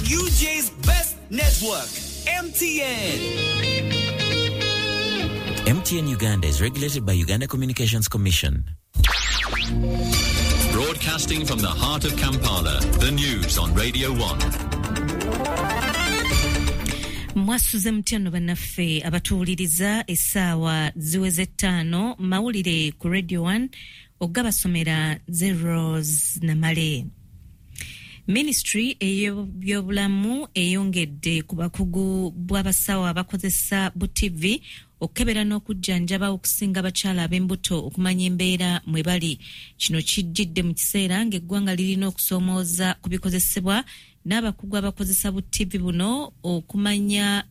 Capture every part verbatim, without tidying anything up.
U J's best network, M T N. M T N Uganda is regulated by Uganda Communications Commission. Broadcasting from the heart of Kampala, the news on Radio one. Mwasuze mutya bannaffe abatuwuliriza, essaawa ziweze ttaano, mawulire ku Radio one ogabasomera Zeros Namale. Ministry ey'ebyobulamu eyongedde ku bakugu bw'abasawo abakozesa bu T V okukebera n'okujjanjaba okusinga abakyala ab'embuto okumanya embeera mwe bali. Kino kijjidde mu kiseera ng'eggwanga lirina okusoomooza ku bikozesebwa n'abakugu abakozesa bu T V buno okumanya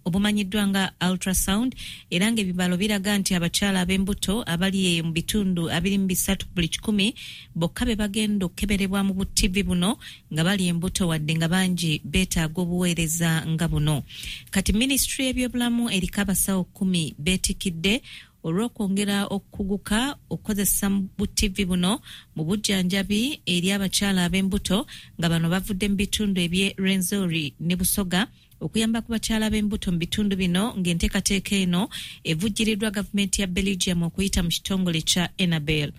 obumanyiddwa nga ultrasound, era ng'ebibalo biraga nti abakyala ab'embuto abali mu bitundu abiri mu bisatu buli kikumi bokka be bagenda okukeberebwa mu bu T V buno nga bali embuto, wadde nga bangi beetaaga obuweereza nga buno. Kati minisitule y'ebyobulamu eriko abasawo kkumi beetikidde olw'okwongera okukuguka okukozesa bu T V buno mu bujjanjabi eri abakyala ab'embuto, nga bano bavudde mu bitundu eby'e Rwenzori ne Busoga okuyamba ku bakyala b'embuto mu bitundu bino, ng'enteekateeka eno evujjiriddwa gavumenti ya Belgium okuyita mu kitongole kya Enabel.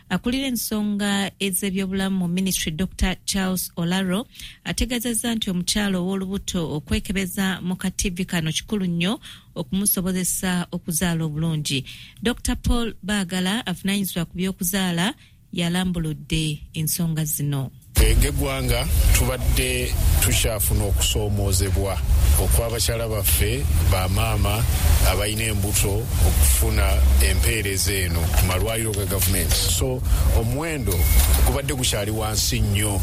Akulira ensonga ez'ebyobulamu mu ministry Doctor Charles Olaro ategeezezza nti omukyala ow'olubuto okwekebeza mu ka T V kano kikulu nnyo okumusobozesa okuzaala obulungi. Doctor Paul Bagala avunaanyizibwa ku by'okuzaala yalambuludde ensonga zino. Ng'eggwanga tubadde tukyafuna okusoomoozebwa okw'abakyala baffe bamaama abalina embuto okufuna empeereza eno ku malwaliro ga gavumenti. So omuwendo gubadde gukyali wansi nnyo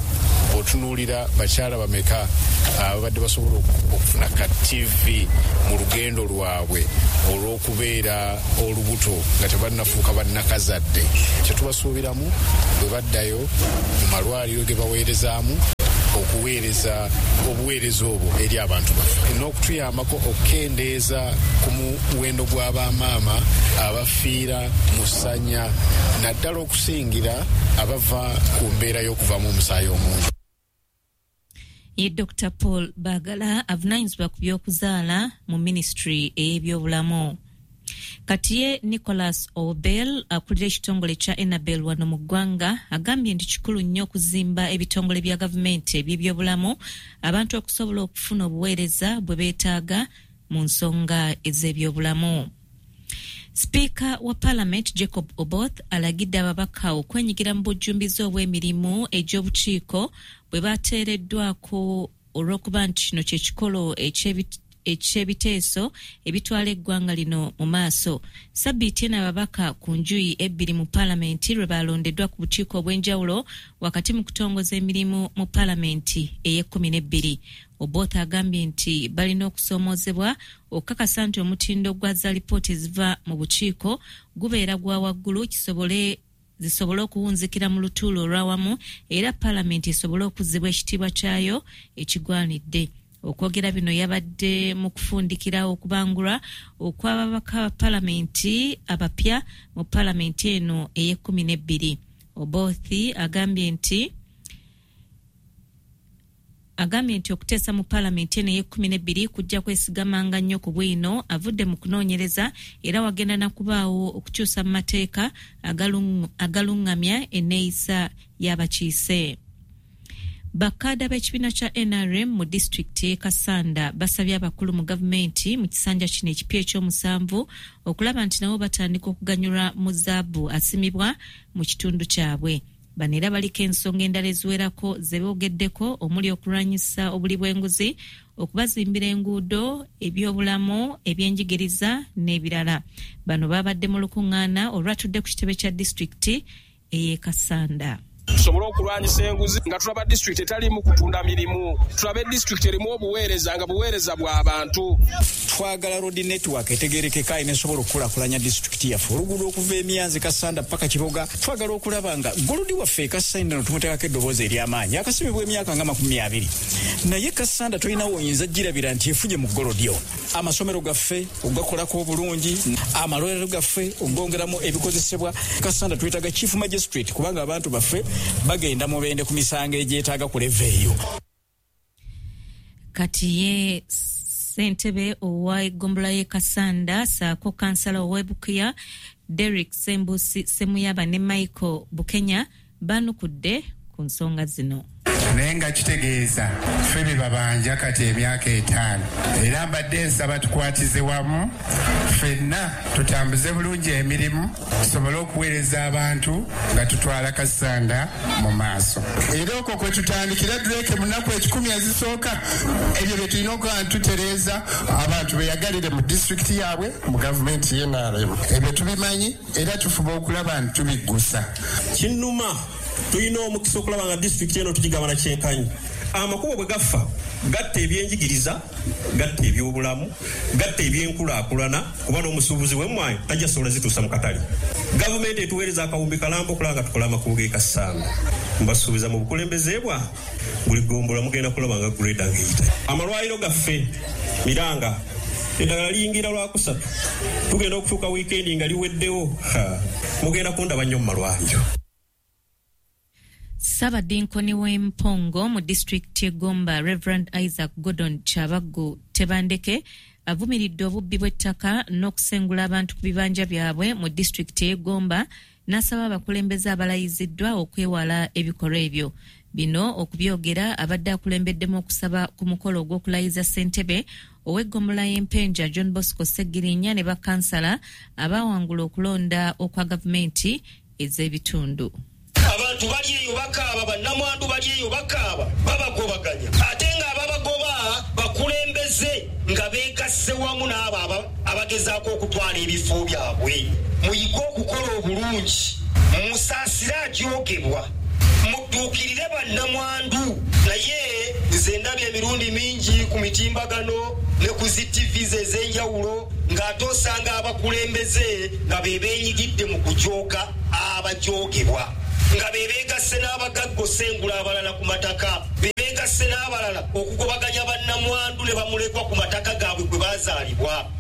bw'otunuulira bakyala bameka ababadde basobola okufuna ka T V mu lugendo lwabwe olw'okubeera olubuto nga tebannafuuka bannakazadde. Kye tubasuubiramu bwe baddayo mu malwaliro ge baweerezaamu okuweereza obuweereza obwo eri abantu baffe n'okutuyambako okukendeeza ku muwendo gw'abamaama abafiira mu ssanya, naddala okusingira abava ku mbeera y'okuvaamu omusaayi omungi. Ye Doctor Paul Bagala avunaanyizibwa ku by'okuzaala mu minisitule ey'ebyobulamu. Kati ye Nicholas Obel akulira ekitongole kya Enabel wano mu ggwanga agambye nti kikulu nnyo okuzimba ebitongole bya gavumenti eby'ebyobulamu abantu okusobola okufuna obuweereza bwe beetaaga mu nsonga ez'ebyobulamu. Sipiika wa Parliament Jacob Oboth alagidde ababaka okwenyigira mu bujjumbize obw'emirimu egy'obukiiko bwe bateereddwako olw'okuba nti kino kye kikolo eky'ebit eky'ebiteeso ebitwala eggwanga lino mu maaso. Sabbiiti eno ababaka ku njuyi ebbiri mu paalamenti lwe balondeddwa ku bukiiko obw'enjawulo wakati mu kutongoza emirimu mu paalamenti ey'ekkumi n'ebbiri. Oboth agambye nti balina okusoomoozebwa okukakasa nti omutindo gwa za lipooti eziva mu bukiiko gubeera gwa waggulu kisobole zisobole okuwunzikira mu lutuulo olw'awamu era paalamenti esobole okuzzibwa ekitiibwa kyayo ekigwanidde. Okwogera bino yabadde mu kufundikira okubangulwa okw'ababaka ba paalamenti abapya mu paalamenti eno ey'ekkumi n'ebbiri. Oboth agambye nti agambye nti okuteesa mu paalamenti eno ey'ekkumi n'ebbiri kujja kwesigamanga nnyo ku bwino avudde mu kunoonyereza era wagenda na kubaawo okukyusa mu mateeka agalungamya enneeyisa y'abakiise. Bakkaada b'ekibiina kya N R M mu disitulikiti y'e Kassanda basabye abakulu mu gavumenti mu kisanja kino ekipya ekyomusanvu okulaba nti nabo batandika okuganyulwa mu zaabu asimibwa mu kitundu kyabwe. Bano era baliko ensonga endala eziwerako ze boogeddeko omuli okulwanyisa obuli bw'enguzi, okubazimbira enguudo, ebyobulamu, ebyenjigiriza n'ebirala. Bano babadde mu lukuŋŋaana olwatudde ku kitebe kya disitulikiti ey'e Kassanda. Tusobole okulwanyisa enguzi nga tulaba disitulikiti etaliimu kutunda mirimu, tulabe disitulikiti erimu obuweereza nga buweereza bw'abantu. Twagala road network etegerekeka enesobola okukulaakulanya disitulikiti yaffe, oluguudo okuva Emyanzi Kassanda paka Kiboga. Twagala okulaba nga golodi waffe e Kassanda no tumuteekako eddoboozi ery'amaanyi akasimibwa emyaka nga makumi abiri, naye Kassanda tolinawo oyinza girabira nti efunye mu golodi ono. Amasomero gaffe ogakolako obulungi, amalwaliro gaffe ogongeramu ebikozesebwa. Kassanda twetaaga chief magistrate kubanga abantu baffe bagenda mubende ku misango egyetaaga ku level eyo. Kati ye ssentebe ow'eggombolola y'e Kassanda ssaako kansala ow'e Bukuya Derrick Sembusi Semuyaba ne Michael Bukenya baanukudde ku nsonga zino. Naye nga kitegeeza ffe be babanja kati emyaka etaano, era mbadde nsaba tukwatize wamu ffenna tutambuze bulungi emirimu, tusobole okuweereza abantu nga tutwala Kassanda mu maaso. Era okwo kwe tutandikira Drake mu nnaku ekikumi ezisooka, ebyo bye tulina okuba ntutereeza, abantu beyagalire mu disitulikiti yaabwe, mu gavumenti ye N R M. Ebyo tubimanyi era tufuba okulaba nti tubiggusa. Kinnuma, tulina omukisa okulaba nga disitulikiti eno tugigabana kyenkanyi. Amakubo bwe gafa, gatta ebyenjigiriza, gatta ebyobulamu, gatta ebyenkulaakulana, kuba n'omusuubuzi w'emmwanyi tajja sobola zituusa mu katale. Gavumenti etuweereza akawumbi kalamba okulaba nga tukola amakubo g'e Kassanda. Mbasuubiza, mu bukulembeze bwa buli ggombolola mugenda kulaba nga grader ng'eyita. Amalwaliro gaffe miranga, eddagala liyingira Lwakusatu, tugenda okutuuka wiikendi nga liweddewo. Mugenda kundaba nnyo mu malwaliro. Ssaabadinkoni w'Empongo mu disitulikiti y'e Gomba, Reverend Isaac Gordon Kyabaggu Tebandeke, avumiridde obubbi bw'ettaka n'okusengula abantu ku bibanja byabwe mu disitulikiti y'e Gomba, n'asaba abakulembeze abalayiziddwa okwewala ebikolwa ebyo. Bino okubyogera abadde akulembeddemu okusaba ku mukolo ogw'okulayiza ssentebe ow'eggombolola y'Empenja John Bosco Ssegirinya ne bakansala abaawangula okulonda okwa gavumenti ez'ebitundu. Abantu bali eyo bakaaba, bannamwandu bali eyo bakaaba, babagobaganya, ate ng'ababagoba bakulembeze nga beegasse wamu n'abo abagezaako okutwala ebifo byabwe. Muyige okukola obulungi, musaasire ajoogebwa, mudduukirire bannamwandu. Naye nze ndabye emirundi mingi ku mitimbagano ne ku zi T Vs ez'enjawulo ng'ate osanga abakulembeze nga be beenyigidde mu kujooga abajoogebwa, nga be beegasse n'abagagga osengula abalala ku mataka, be beegasse n'abalala okugobaganya bannamwandu ne bamulekwa ku mataka gaabwe gwe baazaalibwa.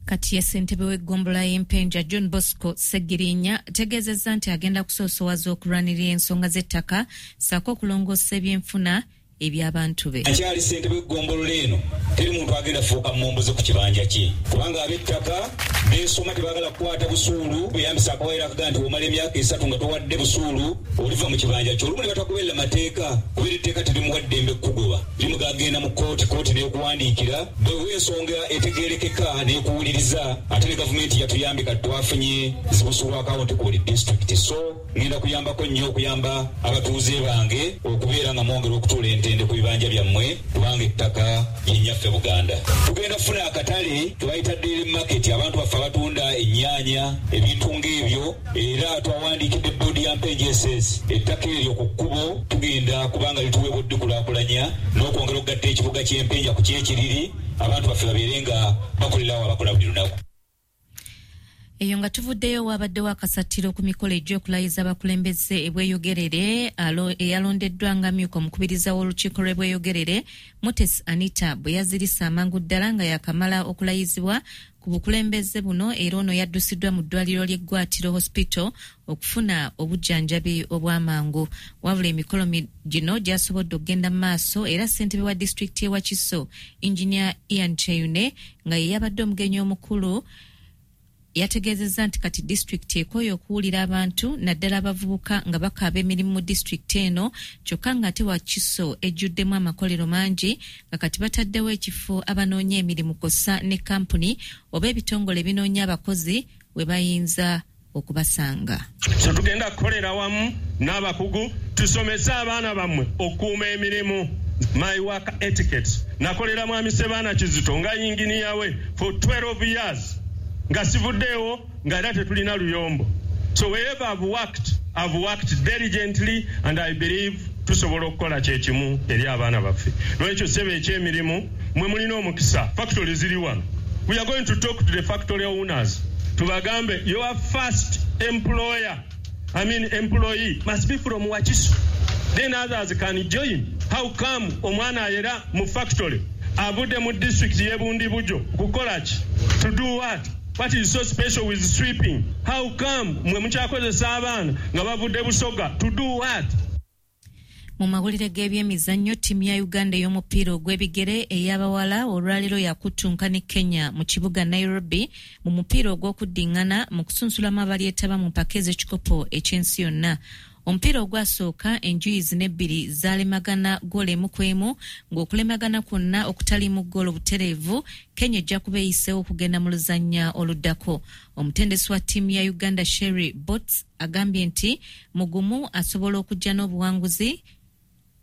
Kati ye ssentebe w'eggombolola y'Empenja John Bosco Ssegirinya ategeezezza nti agenda kusoosowaza okulwanirira ensonga z'ettaka ssaako okulongoosa ebyenfuna eby'abantu be. Akyali ssentebe w'eggombolola eno, teri muntu agenda fuuka mmomboze ku kibanja kye, kubanga ab'ettaka beesoma, tebaagala kukwata busuulu. Beyambisa akawaayiro akagaa nti omala emyaka esatu nga towadde busuulu, oliva mu kibanja kyo. Olumu ne batagoberera mateeka, kubeera etteeka terimuwa ddembe kukugoba, limugagenda mu kooti, kooti n'ekuwandiikira bwewa ensonga etegeerekeka n'ekuwuliriza. Ate ne gavumenti yatuyambye, kati twafunye zibusuulu akawunti ku buli disitulikiti. So ngenda kuyambako nnyo okuyamba abatuuze bange okubeera nga mwongera okutuula entende ku bibanja byammwe, kubanga ettaka yennyaffe Buganda. Tugenda kufuna akatale kebayita daily market, abantu baffe abatunda ennyaanya, ebintu ng'ebyo. Era twawandiikidde boodi ya Mpenja S S, ettaka eryo ku kkubo tugenda kubanga lituweebwa oddikulaakulanya n'okwongera okugatta ekibuga ky'Empenja ku kyekiriri, abantu baffe babeere nga bakolerawo abakola buli lunaku. Eyo nga tuvuddeyo, wabaddewo akasattiro ku mikolo egy'okulayiza abakulembeze ebweyogerere. Eyalondeddwa nga myuka omukubiriza w'olukiiko lw'Ebweyogerere, Mutesi Anita, bwe yazirisa amangu ddala nga yakamala okulayizibwa ku bukulembeze buno, era ono yaddusiddwa mu ddwaliro ly'eggwatiro hospital okufuna obujjanjabi obw'amangu. Wabula emikolo gino gyasobodde okugenda mu maaso, era ssentebe wa disitulikiti y'e Wakiso, Engineer Ian Kyeyune, nga ye yabadde omugenyi omukulu, yategeezezza nti kati disitulikiti ekooye okuwulira abantu naddala abavubuka nga bakaaba emirimu mu disitulikiti eno, kyokka ng'ate Wakiso ejjuddemu amakolero mangi, nga kati bataddewo ekifo abanoonya emirimu kw'ossa ne kampuni oba ebitongole ebinoonya abakozi we bayinza okubasanga. So tugenda kukolera wamu n'abakugu, tusomese abaana bammwe okukuuma emirimu, my work etiquette. Nakolera Mwami Sebaana Kizito nga yinginiya we for twelve years nga sivuddeewo, nga era tetulina luyombo. So wherever I've worked, I've worked diligently, and I believe tusobola okukola kyekimu eri abaana baffe. Lwekyo ssebe, ekyemirimu, mwe mulina omukisa, factory ziri wano. We are going to talk to the factory owners, tubagambe, "Your first employer, I mean employee, must be from Wakiso, then others can join." How come omwana ayera mu factory avudde mu district y'Ebundibujo kukola ki? To do what? What is so special with sweeping? How come mwe mukyakozesa abaana nga bavudde Busoga? To do what? Mu mawulire g'ebyemizannyo, ttiimu ya Uganda ey'omupiira ogw'ebigere ey'abawala olwaleero yakuttunka ne Kenya mu kibuga Nairobi mu mupiira ogw'okuddiŋŋana mu kusunsulamu abalyetaba mu mpaka ez'ekikopo eky'ensi yonna. Omupiira ogwasooka enjuyi zino ebbiri zaalemagana ggoolo emu ku emu, ng'okulemagana kwonna okutaliimu ggoolo butereevu Kenya ejja kuba eyiseewo okugenda mu luzannya oluddako. Omutendesi wa ttiimu ya Uganda Sherry Bots agambye nti mugumu asobola okujja n'obuwanguzi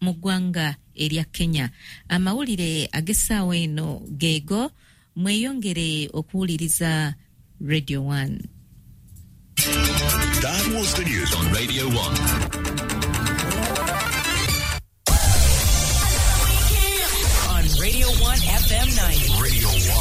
mu ggwanga erya Kenya. Amawulire ag'essaawa eno geego, mweyongere okuwuliriza Radio one. That was the news on Radio one. On Radio one F M ninety. Radio one.